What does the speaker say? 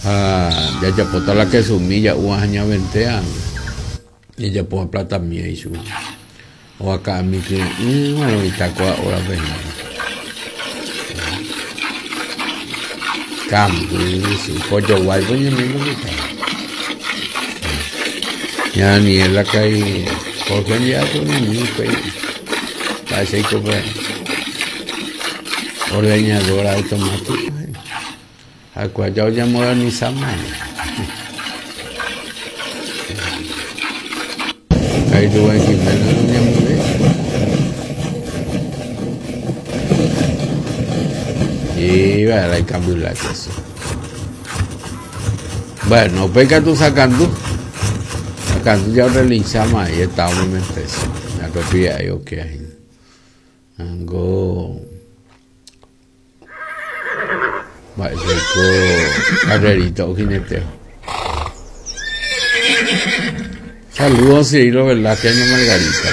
Ha jajapóta la kesumi ja'úva ha ñaventea jajapóva platami ichugui. Ovaka'ami kyre'ỹva roĩta kóa órape hína. Kamby, pojoguáipo ñañe'ẽ mitã. Ña Daniela ka'i Jorge ndive oñe'ẽ upéi mba'éichaiko pe ordeñadora automática. Ha'ekuéra ja oñemodernisáma. Ka'i Rubén Jiménez oñemoĩ. Iva la ikambyla queso. Bueno, upéi katu Sakandu. Sakandu ja orrelinsáma ahí estaba momentesa. Ya ko pi'ai oke ahí. Ango Mba'éichaiko carrerita ojineteo. Saludos Cirilo Velázquez, Margarita.